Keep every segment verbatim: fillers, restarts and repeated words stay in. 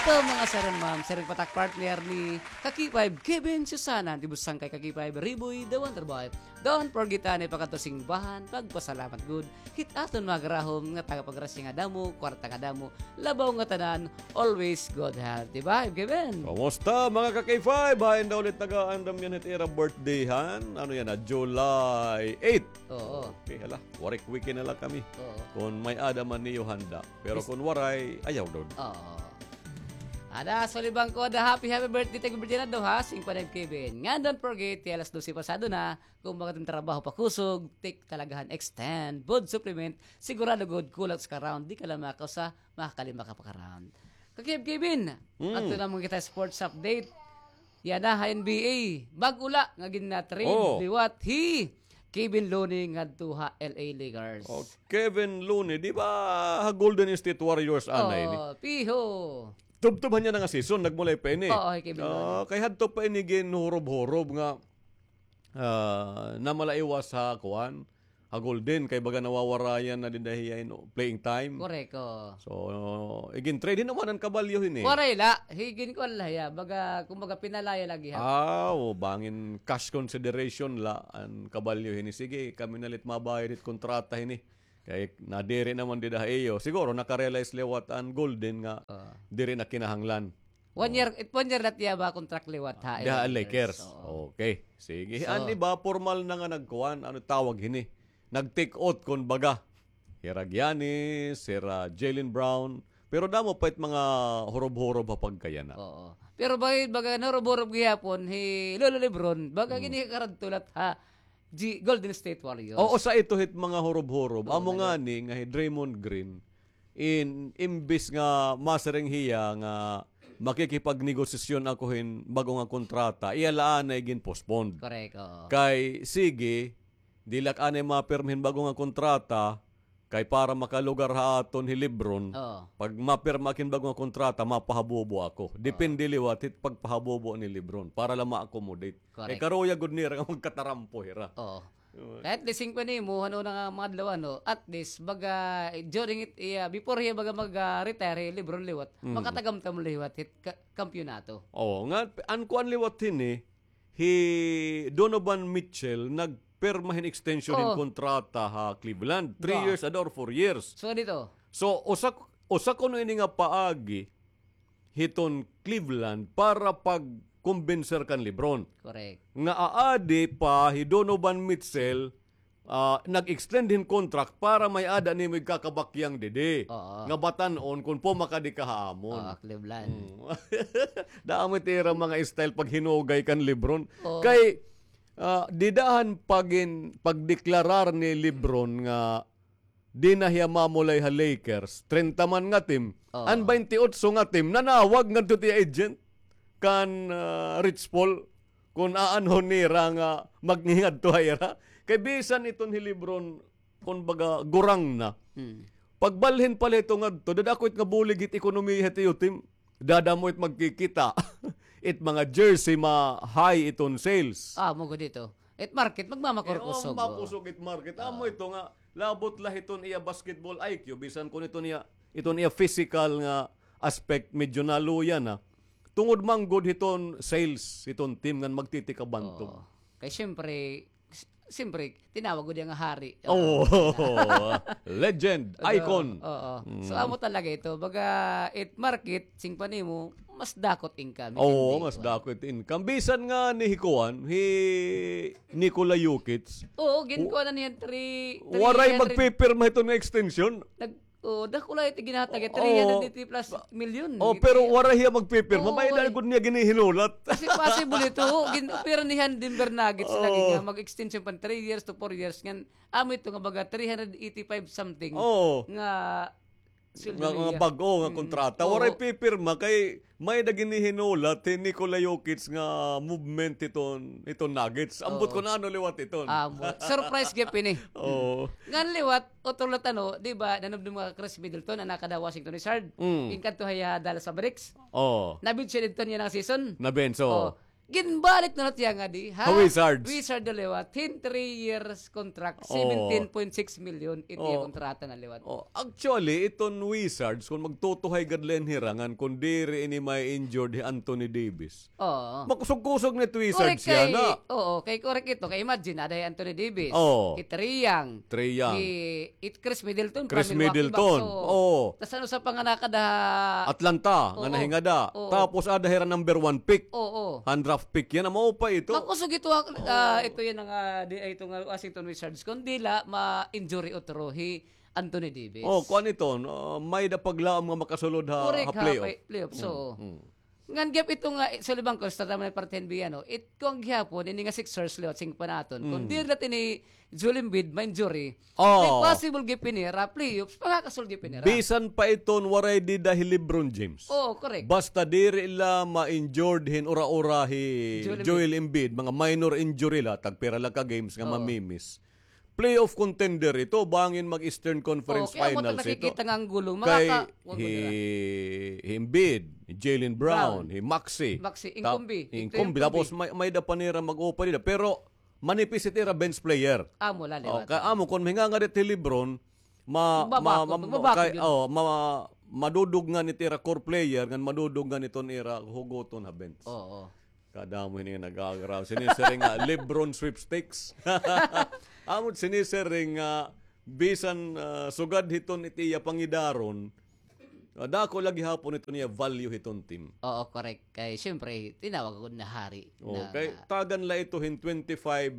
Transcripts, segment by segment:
Ito, mga sir and ma'am, sir and patak partner ni Kaki Five, Kevin Susana, di busang kay Kaki Five, Riboy, the wonder boy. Don't forget, anay, pakadto simbahan, pagpasalamat gud. Hit aton mga garahom nga taga paggrasya nga damo, kwarta nga damo, labaw nga tanan, always good health. Di ba, Kevin? Kumusta, mga Kaki Five? Hain daw ulit nag-aandam yana hit ira birthday, han? Ano yana, July eight? Oo. Okay, hala. Waray, weekend na la kami. Oo. Kon may-ada man niyo handa. Pero kon waray, ayaw daw. Oo. Ada, sulibang ko, ada, happy, happy birthday, tag birthday na daw, ha? Singko na, Kevin. Ngan don't forget, ti alas dose pasado na, kon baga it im trabaho pakusog, take talaga han Extend Food Supplement, sigurado gud kulang usa ka round, di ka la makausa, makakalima ka pa ka round. Kaki Five, Kevin, adto naman kita sports update. Yana ha N B A, bag-o la nga gin-trade liwat hi Kevon Looney ngadto ha L A Lakers. Oh, Kevon Looney, di ba ha Golden State Warriors anay ini? Oh, piho. Tubtob han iya na nga season, nagmulay pa ini. Oo, hi Kevon Looney. Ah, kay hadto pa ini ginhurob-hurob nga, ah, namalaiwas ha kuan, ha Golden, kay baga nawawarayan na dida hiya hin playing time. Korek, oo. So, igin-trade, hin-o man an kabalyo hini? Waray la, hi gin-kuan la hiya, baga, kumbaga, pinalaya la gihap. Ah, o, bangin cash consideration la an kabalyo hini. Sige, kami na la it mabayad hit kontrata hini. Kay nadiri naman dida ha iyo. Siguro, naka-realize liwat an Golden nga diri na kinahanglan. One year, it one year la it iya ba contract liwat ha Lakers. Diha Lakers. Oo. Okay. Sige. So, an iba, pormal na nga nagkuan, ano tawag hini? Nag-take out, kon baga. Hira Giannis, hira Jaylen Brown. Pero damo pa it mga hurob-hurob ha pagkayana. Oo. Pero baga, baga nahurob-hurob gihapon, hi Lolo LeBron, baga gini karadto la ha G-, Golden State Warriors. Oo, usa ito hit mga hurob-hurob. Oo, amo ngani nga hi Draymond Green, in, imbis nga masiring hiya nga makikipagnegosasyon ako hin bag-o nga kontrata, iya la anay gin-postpone. Correct, oo. Kay, sige, diri la ak anay mapirma hin bag-o nga kontrata, kay para makalugar ha aton hi LeBron, pag mapirma ak hin bag-o nga kontrata, mapahabubo ako. Depende liwat hit pagpahabubo ni LeBron para la ma-accommodate. Correct. Eh, karuyag gud nira nga magkatarampo hira. Oo. Kay at least, singko nimo, han una nga mga adlaw, ano, at least, baga, during it, iya, before hiya, baga, mag, ah, retire, hi LeBron liwat, makatagamtam liwat hit ka-, kampiyonato. Oo, nga, an kuan liwat hini, hi Donovan Mitchell, nagpirma hin extension hin kontrata ha Cleveland. Three years, ada, or four years. So, dito? So, usa, usa kuno ini nga paagi, hiton Cleveland para pagkumbinser kan LeBron. Correct. Nga aadi pa hi Donovan Mitchell, ah, nag-extend hin contract para may-ada nimo igkakabakyang didi. Oo. Nga batan-on kon pumakadi ka ha amon. Oo, Cleveland. Mm. Damo it ira mga style paghinugay kan LeBron. Oo. Kay, ah, dida han pagin-, pagdeklarar ni LeBron nga di na hiya mamulay ha Lakers, treinta man nga team. Oo. An baynte otso nga team, nanawag ngadto it iya agent kan, ah, Rich Paul, kon aanhon nira nga magngingadto ha ira. Kay bisan iton hi LeBron, kon baga, gurang na. Hmm. Pagbalhin pa la hito ngadto, dad-a ako it nga bulig hit ekonomiya hit iyo team. Dadamo it magkikita. It mga jersey, ma-high iton sales. Ah, amo gud ito. It market, magmamakurkusog. Eh, oo, makusog it market. Amo ito nga, labot la hiton iya basketball I Q, bisan kon iton iya, iton iya physical nga aspect, medyo naluya na. Tungod man gud hiton sales, hiton team ngan magtitikabantog. Oo. Kay siyempre, s-, siyempre, tinawag gud iya nga hari. Oo. Legend, icon. Oo. So, amo talaga ito. Baga, it market, singko nimo, mas dako it income. Oo, mas dako it income. Bisan ngani hi kuan, hi Nikola Jokic. Oo, ginkuan na niya three, waray magpipirma hiton nga extension. Nag-, oo, dako la it ginhatag, three hundred eighty plus million. Oo, pero waray hiya magpipirma. May-ada gud niya ginihinulat. Kasi possible ito, gin-, pero niyan Denver Nuggets lagi nga mag-extension pa three years to four years. Ngan, amo ito nga baga three hundred eighty-five something nga sweldo niya. Nga bag-o nga kontrata. Waray pipirma kay may-ada ginihinulat hi Nikola Jokic nga movement hiton, hiton Nuggets. Ambot kon ano liwat iton. Ambot. Surprise gihap ini. Oo. Ngan liwat, utro la tano, di ba, nanumdom nga Khris Middleton, an nakada Washington Wizards. Mm. Inkadto hiya Dallas Mavericks. Oo. Nabench siya didto niyan nga season. Nabench, oo. Oo. Ginbalik na la it iya ngadi ha Wizards. Wizards na liwat. Hin three years contract, seventeen point six million it iya kontrata na liwat. Oh, actually, iton Wizards, kon magtutuhay gad la hin hira ngan kon diri ini ma-injured hi Anthony Davis. Oo. Makusog-kusog na it Wizards yana. Oo, kay correct ito. Kay imagine, ada hi Anthony Davis, hi Trae Young, Trae Young, hi It Khris Middleton, Khris Milwaukee Bucks. Middleton. Oo. Tas ano sa panganakad ha Atlanta, nga nahingada. Oo. Tapos ada hira number one pick. Oo. Undraft pick yana, maupay ito. Makusog ito, ah, ito yana nga, di, ito nga Washington Wizards. Kon diri la ma-injury utro hi Anthony Davis. Oh, kuan ito, ah, may-ada paglaom nga makasulod ha, ha playoff. Correct, ha playoff. So, ngan gihap ito nga, eh, Sullivan Course, tataman na parte hin biya, no? It, kuan gihapon, ini nga Sixers liwat, sing panaton. Kon diri la ini Joel Embiid ma-injury, may possible gihap ini hira playoffs, makakasulod gihap ini hira. Bisan pa iton waray dida hi LeBron James. Oo, correct. Basta diri la ma-injured hin ura-ura hi Joel Embiid, mga minor injury la, tagpira la ka games nga mamimiss. Playoff contender ito, bangin mag-Eastern Conference Finals ito. Kay hi, hi Embiid, hi Jaylen Brown, hi Maxey. Maxey, inkumbi. Inkumbi. Tapos may, may-ada pa nira mag-upa dida. Pero manipis it ira bench player. Amo la liwat. Kay amo kon mahingangad it hi LeBron, ma-, ma-, ma-, kay, oh, ma-, madudugngan it ira core player, ngan madudugngan iton ira hugoton ha bench. Oo. Kadamo hini nga nag-aagraw. Sinisiring nga LeBron sweepstakes. Amo it sinisiring nga bisan, ah, sugad hiton it iya pangidaron, ah, dako la gihapon iton iya value hiton team. Oo, correct. Kay siyempre, tinawag ako na hari. Oo, kay tagan la ito hin twenty-five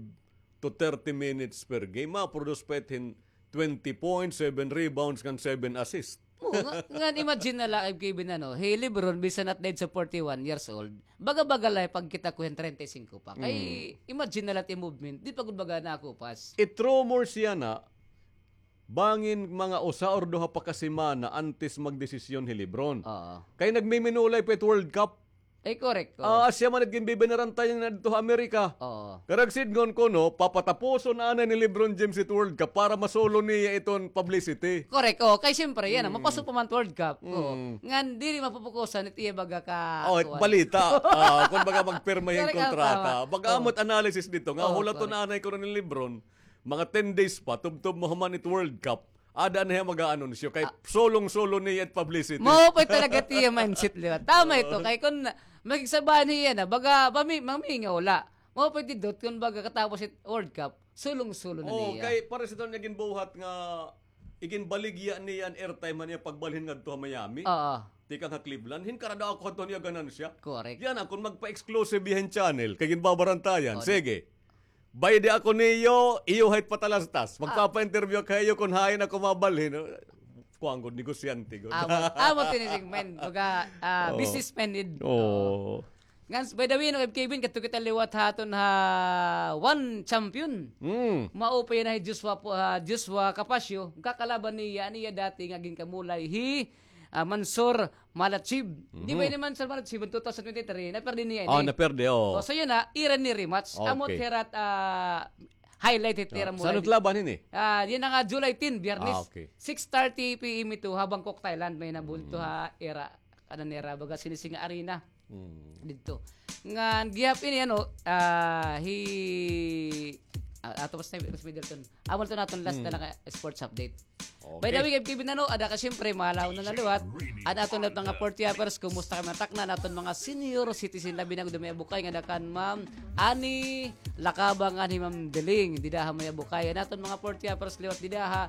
to thirty minutes per game. Ma-produce pa it hin twenty points, seven rebounds, ngan seven assists. Oo, nga, ngan imagine na la, Kevin, ano, hi LeBron, bisan at the age of forty-one years old, baga-baga la pagkita ko hin treinta y cinco pa. Kay, imagine na la it movement, di pa gud baga nakupas. It rumors yana, bangin mga usa or duha pa ka semana antes magdesisyon hi LeBron. Oo. Kay nagmiminulay pa it World Cup. Ay, correct. Ah, asya man it ginbibinurantayan ngadto ha Amerika. Oo. Karuyag sidngon kuno, papatapuson anay ni LeBron James it World Cup para masulon niya iton publicity. Correct. Oh, kay siyempre, yana, mapaso pa man it World Cup. Oo. Ngan, diri mapupukusan it iya baga ka, oh, kuan, balita. Ah, kon baga magpirma hin kontrata. Baga amo it analysis didto nga hulaton anay kuno ni LeBron, mga ten days pa, tubtob mahuman it World Cup. Ada na hiya mag-aanunsyo kay sulong-sulon niya it publicity. Mao pa talaga it iya mindset liwat. Tama ito, kay kon makigsabahan hiya na, baga, mami-, mamingaw la. Mao pa didot kon baga katapos it World Cup, sulong-sulon na niya. Kay pareho sa iton niya ginbuhat nga iginbaligya niya an airtime han iya pagbalhin ngadto ha Miami. Oo. Tikang ha Cleveland, hin karada ako hadto niya ganansya. Correct. Yana, kon magpa-exclusive hiya hin channel, kay ginbabarantayan. Sige. Baydi ako niyo, iyo ha it patalastas. Magpapa-interview ako ha iyo kon hain ako mabalhin. Kuan gud, negosyante gud. Amo, amo it ini, men. Baga, ah, businessman gud. Oo. Ngan, by the way, no, Kevin, kadto kita liwat ha aton ha One Champion. Mao pa yana hi Joshua po, ah, Joshua Capasio. Kakalaban niya, niya dati nga ginkamulay hi, ah, Mansour Malachib. Di ba ini Mansour Malachib, two thousand twenty-three, naperde niya ini. Oh, naperde, oh. Oh, so yana, ira ini rematch. Amo it hira, ah, highlight hit ira mula. San-o it laban ini? Ah, yana nga July ten, Biyernes. Ah, okay. Six thirty P M ito ha Bangkok, Thailand. May nabulto ha ira, kanan ira, baga Sinising Arena. Didto. Ngan gihap ini, ano, ah, hi, ah, ato pa sa Middleton. Amo ito na aton last na nga sports update. By the way, Kevin, ano, ada ka siyempre, mahalaw na na liwat. An aton mga Portiapers, kumusta kamo, takna, an aton mga senior citizen, labi na gud may abukay nga ada kan Ma'am Annie Lacaba ngan hi Ma'am Deling, dida ha may abukay. An aton mga Portiapers liwat dida ha,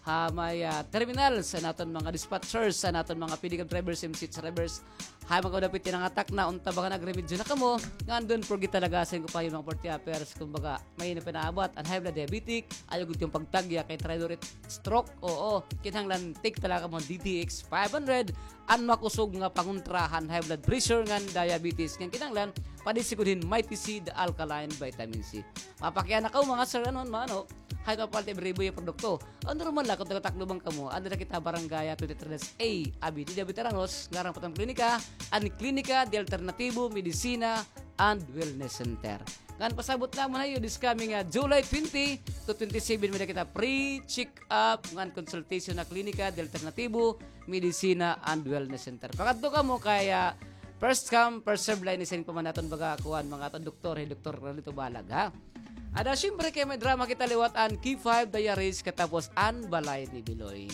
ha may, ah, terminals, an aton mga dispatchers, an aton mga P D cab drivers, M C H drivers, ha mga kadapit nga takna, unta baga nagremedyo na kamo, ngan don't forget talaga sa inyo pa mga Portiapers, kumbaga, may na pinaabot, an high blood diabetic, ayaw gud kamo pagtagya kay traidor it stroke, oo, kinahanglan take talaga mo D T X five hundred, an makusog nga pangontra han high blood pressure ngan diabetes, ngan kinahanglan, padisi gud hin Mighty C, the alkaline vitamin C. Mapakiana kamo, mga sir, ano, mga ano, Hay mapalta ibribo iya produkto. Ano naman la kon taga-Tacloban kamo, anda na kita barangay twenty-three dash A, Avenida Veteranos, ngaran pa iton klinika, an Klinika de Alternatibo, Medisina, and Wellness Center. Ngan pasabot namon ha iyo, this coming, ah, July twenty to twenty-seven, may-ada kita free check-up ngan consultation ha Klinika de Alternatibo, Medisina, and Wellness Center. Pakadto kamo kay, ah, First come, first serve la ini, siring pa man aton baga kuan, mga aton doktor, hi Doktor Carlito Balag, ha? Ada, siyempre, kay may drama kita liwat an K five Diaries, katapos an Balay ni Biloy.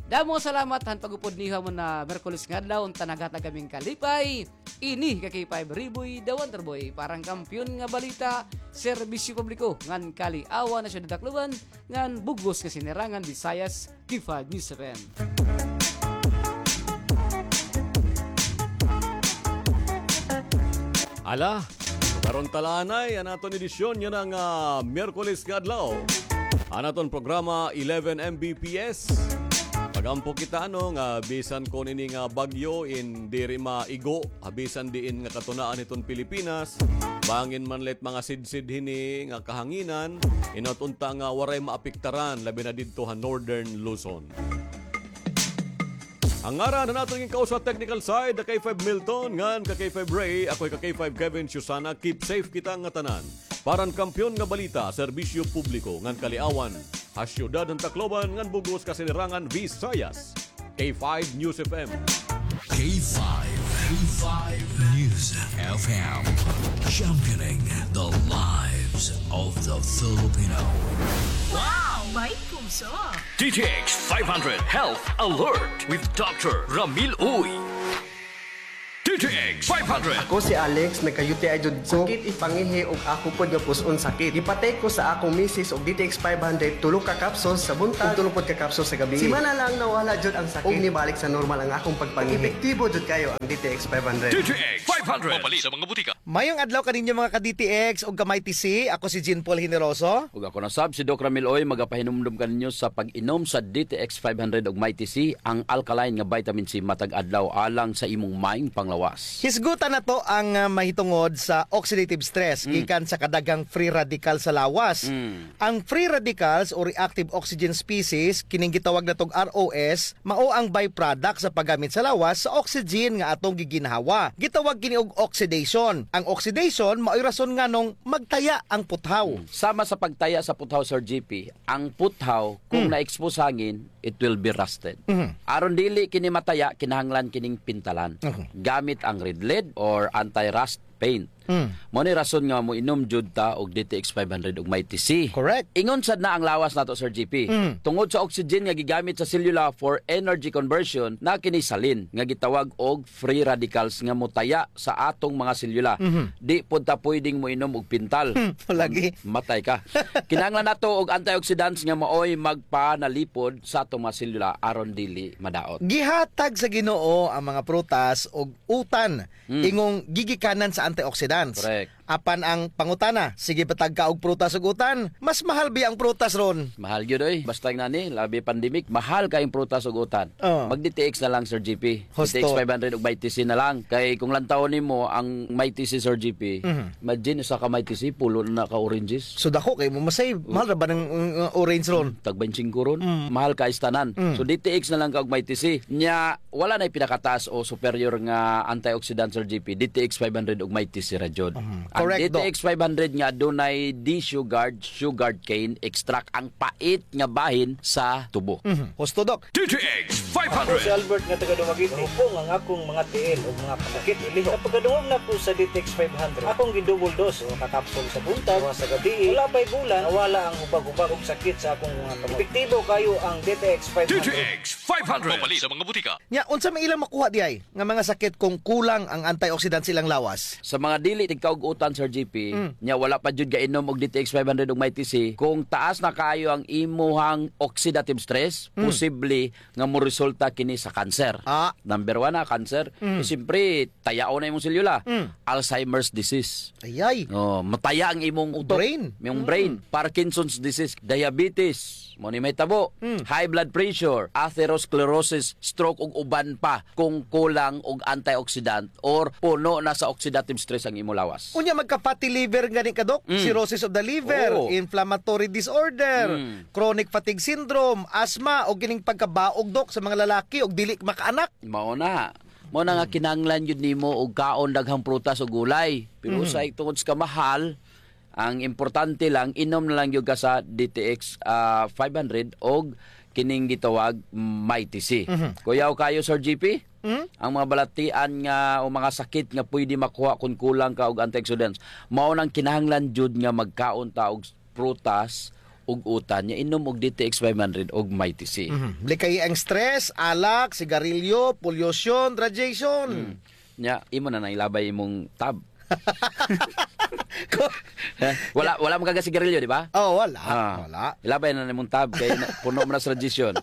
Damo salamat han pag-upod niyo ha mga Miyerkules nga adlaw, unta naghatag kami hin kalipay. Ini ka K five Riboy, the Wonder Boy, para han Kampiyon nga Balita, Serbisyo Publiko, ngan Kaliawan ha Syudad Tacloban, ngan bug-os nga Sinirangan Visayas, K five News F M. Ala, karon ta la anay an aton edisyon yana nga Miyerkules nga adlaw. An aton programa, eleven M B P S. Pag-ampo kita, ano, nga bisan kon ini nga bagyo in diri maigo ha bisan diin nga katunaan hiton Pilipinas, bangin man la it mga sidsid hini nga kahanginan, in-out unta nga waray maapektaran, labi na didto ha Northern Luzon. An ngaran han aton ginkausa technical side, the K five Milton, ngan ka K five Ray, ako hi ka K five Kevin Susana, keep safe kita nga tanan. Para han Kampiyon nga Balita, Serbisyo Publiko, ngan Kaliawan, ha Syudad han Tacloban, ngan bug-os ka Sinirangan Visayas, K five News F M. K five, K five News F M, championing the lives of the Filipino. Wow! May puso! D T X five hundred Health Alert with Doctor Ramil Uy. D T X five hundred. Ako si Alex, nagka-U T I jud ko. Sakit it pangihi ug ako pod nga pus-on sakit. Gipatay ko sa akong misis og D T X five hundred, tulo ka capsules sa buntag ug tulo pod ka capsules sa gabii. Simana lang nawala jud ang sakit ug nibalik sa normal ang akong pagpangihi. Epektibo jud kayo ang D T X five hundred. D T X five hundred. Mapalit sa mga butika. Mayong adlaw kaninyo, mga ka-D T X ug ka-Mighty C. Ako si Jean Paul Generoso. Ug ako na sab si Doc Ramil Uy, magapahinumdom kaninyo sa pag-inom sa D T X five hundred ug Mighty C, ang alkaline nga vitamin C matag adlaw alang sa imong maayong panglawas. Hisgutan nato ang, ah, mahitungod sa oxidative stress gikan sa kadaghang free radical sa lawas. Mm. Ang free radicals o reactive oxygen species, kining gitawag natog R O S, mao ang byproduct sa paggamit sa lawas sa oxygen nga atong giginhawa. Gitawag kini og oxidation. Ang oxidation mao'y rason nganong magtaya ang puthaw. Mm. Sama sa pagtaya sa puthaw, Sir G P, ang puthaw, kung na-expose hangin, it will be rusted. Mhm. Aron dili kini mataya, kinahanglan kining pintalan. Mhm. Gamit ang Red Lead or anti-rust paint. Mm. Mao ni rason nga moinom jud ta og D T X five hundred ug Mighty C. Correct. Ingon sad na ang lawas nato, Sir G P. Mm. Tungod sa oxygen nga gigamit sa selula for energy conversion, naa kini salin nga gitawag og free radicals nga motaya sa atong mga selula. Mhm. Di pod ta pwedeng moinom og pintal. Hmm, lagi. Matay ka. Kinahanglan nato og antioxidants nga maoy magpanalipod sa atong mga selula aron dili madaot. Gihatag sa Ginoo ang mga prutas og utan, hmm, ingong gigikanan sa antioxidants. Correct. Apan ang pangutana, sige ba tagka og prutas ug utan? Mas mahal biya ang prutas ron? Mahal gyud, oy. Basta nga ni, labi pandemic, mahal kay ang prutas ug utan. Oh. Mag D T X na lang, Sir G P. Husto. D T X five hundred ug Mighty C na lang. Kay kung lantawon nimo ang Mighty C, Sir G P, mhm, imagine, usa ka Mighty C, pulo na ka oranges. So, dako kay mo masave. Oh. Mahal ra ba ng, uh, orange ron? Tag twenty-five ron. Mm. Mahal ka istanan. Mm. So, D T X na lang ka og Mighty C. Nya, wala na'y pinakataas o superior nga antioxidant, Sir G P, D T X five hundred ug Mighty C ra jud. Mhm. Ang correct, Doc. D T X five hundred nga adunay D-Sugard, sugarcane extract, ang pait nga bahin sa tubo. Mhm. Husto, Doc. D T X five hundred. Ako si Albert nga taga Dumaguete. Mahupong ang akong mga tiil ug mga pasakit ilihok. Sa pagkadungog nako sa D T X five hundred, akong gi-double dose, usa ka kapsul sa buntag, duha sa gabii. Wala pa'y bulan, nawala ang hubag-hubag ug sakit sa akong mga kamot. Epektibo kayo ang D T X five hundred. D T X five hundred. Mapalit sa mga butika. Nya, unsa may ilang makuha diay nga mga sakit kung kulang ang antioxidant sa ilang lawas? Sa mga dili tigkaug-utan, Sir G P, mm, nya wala pa jud gainom og D T X five hundred ug Mighty C, kung taas na kaayo ang imuhang oxidative stress, mm, posible nga moresulta kini sa cancer. Ah. Number one na, cancer. Mm. Eh, siyempre, tayaon na imong selula. Mm. Alzheimer's disease. Ayay. Oh, mataya ang imong utok. Brain. Imong brain. Mm. Parkinson's disease, diabetes, mao ni mahitabo. Mm. High blood pressure, atherosclerosis, stroke, ug uban pa kung kulang og antioxidant or puno na sa oxidative stress ang imo lawas. Unya, magka-fatty liver gani ka, Doc? Mm. Cirrhosis of the liver, oo, inflammatory disorder, mm, chronic fatigue syndrome, asthma, o kining pagkabaog, Doc, sa mga lalaki og dili makaanak. Mao na. Mao na nga, mm, kinahanglan jud nimo og kaon daghang prutas o gulay. Pero, mhm, usahay tungod sa kamahal, ang importante lang, inom na lang jud ka sa D T X, ah, five hundred og kining gitawag Mighty C. Mhm. Kuyaw kayo, Sir G P? Hmm? Ang mga balatian nga o mga sakit nga pwede makuha kun kulang ka og antioxidants. Mao nang kinahanglan jud nga magkaon ta og prutas ug utan. Nya inom og D T X five hundred og Mighty C. Mhm. Likay ang stress, alak, sigarilyo, pollution, radiation. Hmm. Nya, imo na nang ilabay imong tab. Ko- Eh, wala, wala man ka sigarilyo, di ba? Oh, wala. Ah. Wala. Ilabay na nimong tab kay na, puno man na sa radiation.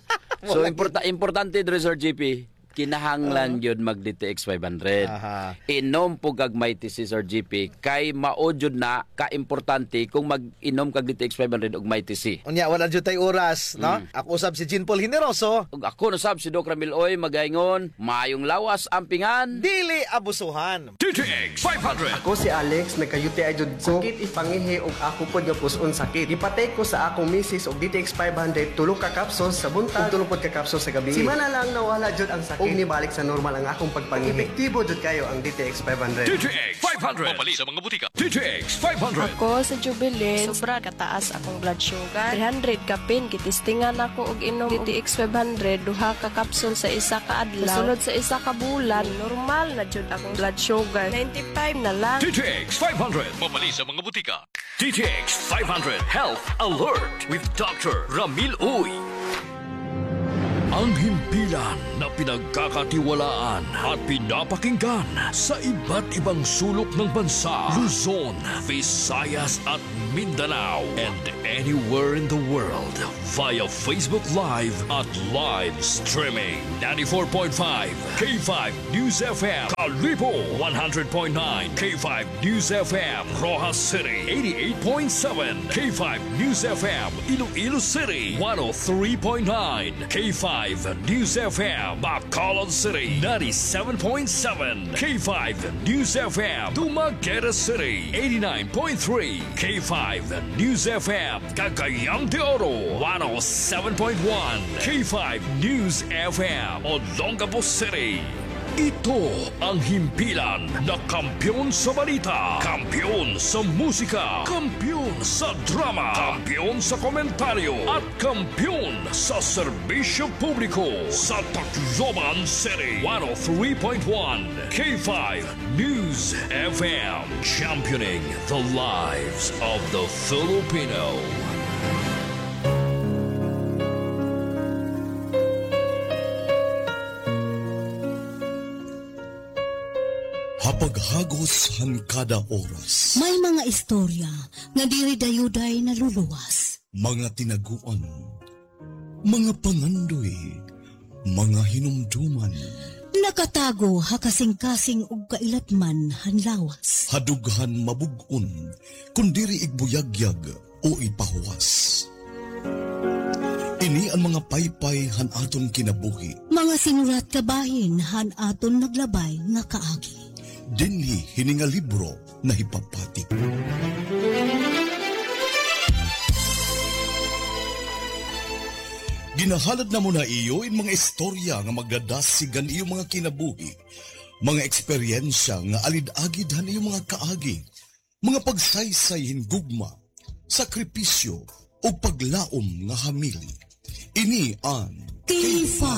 So, Wala importa-, importante diri, Sir G P, kinahanglan gyud mag D T X five hundred. Aha. Inom po kag Mighty C, Sir G P, kay mao jud na ka-importante kung mag-inom kag D T X five hundred ug Mighty C. Unya, wala jud tay oras, no? Mm. Ako usab si Jean Paul Generoso. Ug ako na sab si Doc Ramil Oy, magaingon, mayong lawas, ampingan. Dili abusuhan. D T X five hundred. Ako si Alex, nagka-U T I jud ko. Sakit ipangihi ug ako pod nga pus-on sakit. Gipatake ko sa akong misis og D T X five hundred, tulo ka capsules sa buntag ug tulo pod ka capsules sa gabii. Simana lang nawala jud ang sakit ug nibalik sa normal ang akong pagpangihi. Epektibo jud kayo ang D T X five hundred. D T X five hundred. Mapalit sa mga butika. D T X five hundred. Ako si Jubilin. Sobra kataas akong blood sugar. Three hundred kapin, gitistingan ako og inom D T X five hundred, duha ka capsule sa isa ka adlaw. Sa sunod sa isa ka bulan, normal na jud akong blood sugar. Ninety-five na lang. D T X five hundred. Mapalit sa mga butika. D T X five hundred Health Alert with Doctor Ramil Uy. Ang himpilan na pinagkakatiwalaan at pinapakinggan sa iba't ibang sulok ng bansa, Luzon, Visayas at Mindanao, and anywhere in the world via Facebook Live at live streaming. Ninety-four point five K five News F M, Kalibo, one hundred point nine K five News F M, Roxas City, eighty-eight point seven K five News F M, Iloilo City, one oh three point nine K five News F M, Bacolod City, ninety-seven point seven K five News F M, Dumaguete City, eighty-nine point three K five News F M, Cagayan de Oro, one oh seven point one K five News F M, Olongapo City. Ito ang himpilan na kampiyon sa balita, kampiyon sa musika, kampiyon sa drama, kampiyon sa komentaryo, at kampiyon sa serbisyo publiko sa Tacloban City. One oh three point one K five News F M, championing the lives of the Filipino. Ha paghagos han kada oras. May mga istorya nga diri dayuday naluluwas. Mga tinaguan, mga pangandoy, mga hinumduman. Nakatago ha kasingkasing ug kailatman han lawas. Ha dughan mabug-on, kon diri igbuyagyag o ipahuwas. Ini an mga paypay han aton kinabuhi. Mga sinurat kabahin han aton naglabay nga kaagi. Dinhi hini nga libro nahipapatik. Ginahalad namon ha iyo in mga istorya nga magdadasig han iyo mga kinabuhi, mga eksperyensya nga alid-agid han iyo mga kaagi, mga pagsaysay hin gugma, sakripisyo, ug paglaom nga hamili. Ini an K five